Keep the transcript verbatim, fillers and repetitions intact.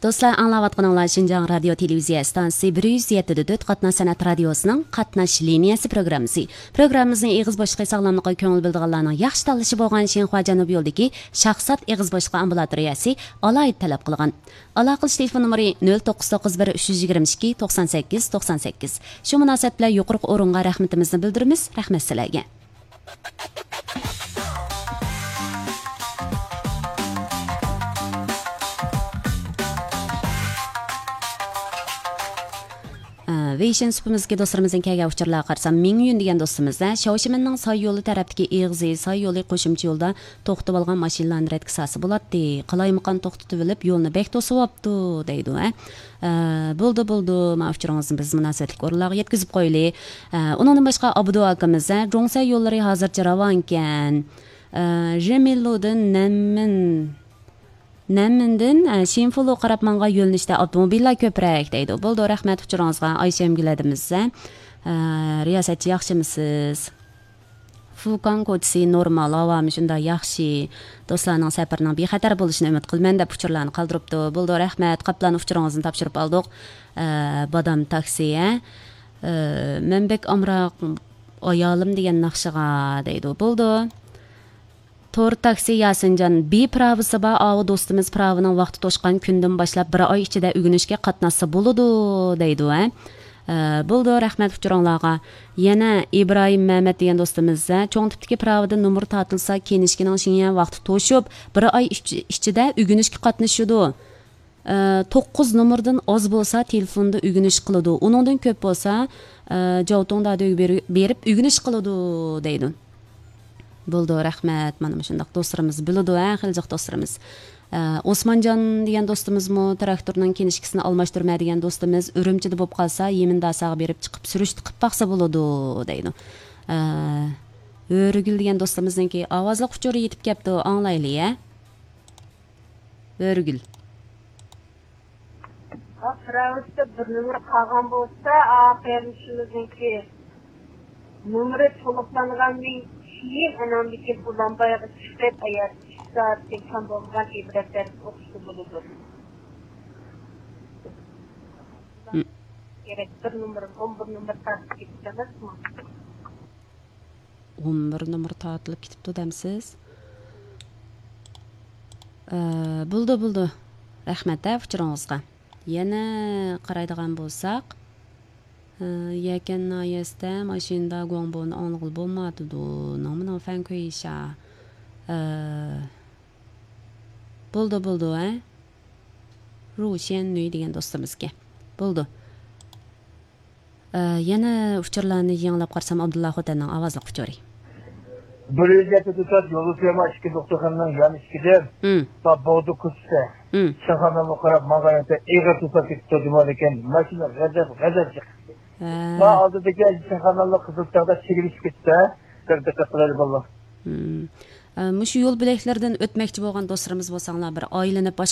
دوستلار، ئاڭلاۋاتقىنىڭلار شىنجاڭ رادىيو تېلېۋىزىيە ئىستانسىسى بىر يۈز يەتتە دۆت قاتناش سەنئەت رادىيوسىنىڭ قاتناش لىنىيەسى پروگراممىسى. پروگراممىمىزنىڭ ئېغىز بوشلۇقى ساغلاملىققا كۆڭۈل بۆلىدىغانلارنىڭ ياخشى تاللىشى بولغان شىنخۇا جەنۇبىي يولىدىكى شاھزات ئېغىز بوشلۇقى ئامبۇلاتورىيەسى ئالاھىدە تەلەپ قىلغان. ئالاقىلىشىش تېلېفون نومۇرى نۆل توققۇز توققۇز بىر، ئۈچ يۈز يىگىرمە ئىككى، توقسان سەككىز، توقسان سەككىز. شۇ مۇناسىۋەت بىلەن يۇقىرىقى ئورۇنغا رەھمىتىمىزنى بىلدۈرىمىز. رەھمەت سىلەرگە. ئە، ۋېيشىن سۇپىمىزدىكى دوستلىرىمىزدىن كەلگەن ئۇچۇرلارغا قارىسام، مىڭيۈن دېگەن دوستىمىز، ئە، شياۋشىمىننىڭ ساي يولى تەرەپتىكى ئېغىزى، ساي يولى قوشۇمچە يولدا توختىتىۋالغان ماشىنىلارنى رەتكە سالسا بولاتتى. قالايمىقان توختىتىۋېلىپ، يولنى بەك توسۇۋاپتۇ، دەيدۇ، ئە. ئە، بولدى، بولدى، مانا ئۇچۇرىڭىزنى بىز مۇناسىۋەتلىك ئورۇنلارغا يەتكۈزۈپ قويىلى. ئە، ئۇنىڭدىن باشقا ئابدۇ ئاكىمىز، ئە، جۇڭسەي يوللىرى ھازىرچە راۋانكەن. ئە، ژېمىللۇدىن نەنمىن، نەنمىندىن، ئە، شىنفۇلۇغا قاراپ ماڭغان يۆنىلىشتە ئاپتوموبىللار كۆپرەك، دەيدۇ. بولدى، رەھمەت ئۇچۇرىڭىزغا، ئايشەمگۈل ھەدىمىز، ئە. ئە، رىياسەتچى، ياخشىمۇسىز؟ فۇكاڭ كوچىسى نورمال، ھاۋامۇ شۇنداق ياخشى. دوستلارنىڭ سەپىرىنىڭ بىخەتەر بولۇشىنى ئۈمىد قىلىمەن، دەپ ئۇچۇرلارنى قالدۇرۇپتۇ. بولدى، رەھمەت. قاپلان ئۇچۇرىڭىزنى تاپشۇرۇپ ئالدۇق. ئە، بادام تاكسى، ھە؟ ئە، مەن بەك ئامراق ئايالىم دېگەن ناخشىغا، دەيدۇ. بولدى. تور تاكسى ياسىنجان، بى پىراۋىسى بار ئاۋۇ دوستىمىز پىراۋىنىڭ ۋاقتى توشقان كۈندىن باشلاپ بىر ئاي ئىچىدە ئۆگىنىشكە قاتناشسا بولىدۇ، دەيدۇ، ھە. ئە، بولدى، رەھمەت ئۇچۇرۇڭلارغا. يەنە ئىبراھىم مەمەت دېگەن دوستىمىز، ھە، چوڭ تىپتىكى پىراۋىدىن نومۇر تارتىلسا، كىنىشكىنىڭ شېڭيەن ۋاقتى توشۇپ، بىر ئاي ئىچ-، ئىچىدە ئۆگىنىشكە قاتنىشىدۇ. ئە، توققۇز نومۇردىن ئاز بولسا تېلېفوندا ئۆگىنىش قىلىدۇ، ئۇنىڭدىن كۆپ بولسا، ئە، جاۋتۇڭدادىگە بېرى-، بېرىپ ئۆگىنىش قىلىدۇ، دەيدۇ. بولدى، رەھمەت. مانا مۇشۇنداق دوستلىرىمىز بىلىدۇ، ھە، خېلى جىق دوستلىرىمىز. ئە، ئوسمانجان دېگەن دوستىمىزمۇ تىراكتورنىڭ كىنىشكىسىنى ئالماشتۇرىمەن دېگەن دوستىمىز ئۈرۈمچىدە بولۇپ قالسا، يېمىن داساغا بېرىپ چىقىپ سۈرۈشتە قىلىپ باقسا بولىدۇ، دەيدۇ. ئە، ھۆرىگۈل دېگەن دوستىمىزنىڭكى ئاۋازلىق ئۇچۇرى يېتىپ كەپتۇ، ئاڭلايلى، ھە. ھۆرىگۈل. ئا، پىراۋىسىدا بىر نومۇر قالغان بولسا، ئا، قېرىندىشىمىزنىڭكى نومۇرى تولۇقلانغاندىن كېيىن، ئاناندىن كېيىن ئۇلانبايغا چىقىپ، ئاياغ ئىككى سائەتتىن كەم بولمىغان ئىبرەت دەرس ئوقۇسا بولىدۇ. م. كېرەك، بىر نومۇر، ئون بىر نومۇر تارتىپ كېتىپتىڭىزمۇ؟ ئون بىر نومۇر تارتىلىپ كېتىپتۇ دەمسىز؟ ئە، بولدى، بولدى. رەھمەت، ھە، ئۇچۇرىڭىزغا. يەنە قارايدىغان بولساق، ئە، يەكەن ناھىيەسىدە ماشىنىدا گۇاڭبونى ئاڭلىغىلى بولمايۋاتىدۇ. نېڭمىنىڭ فەنكۈيشا. ئە، بولدى، بولدى، ھە. رۇشيەن نۈي دېگەن دوستىمىزكى. بولدى. ئە، يەنە ئۇچۇرلارنى يېڭىلاپ قارىسام، ئابدۇللا خوتەننىڭ ئاۋازلىق ئۇچۇرى. بىر يۈز يەتتە توسات يولى سۆيمە ئىككى دوختۇرخانىنىڭ يان ئىشىكىدىن، ھىم. تا بوغدا كوچىسى، ھىم. شىنخانامغا قاراپ ماڭغان يەردە ئېغىر توسات كېتىپتۇ، جۇمالىكەن. ماشىنا غەزەپ، غەزەپ چىقتى. ھە. ما ئالدىدىكى شىنخاناملىق قىزىل چىراغدا چېكىلىشىپ كېتىپتۇ. بىر دىققەت قىلايلى، بالىلار. ھىم. ئە، مۇشۇ يول بۆلەكلىرىدىن ئۆتمەكچى بولغان دوستلىرىمىز بولساڭلار، بىر ئايلىنىپ باشقا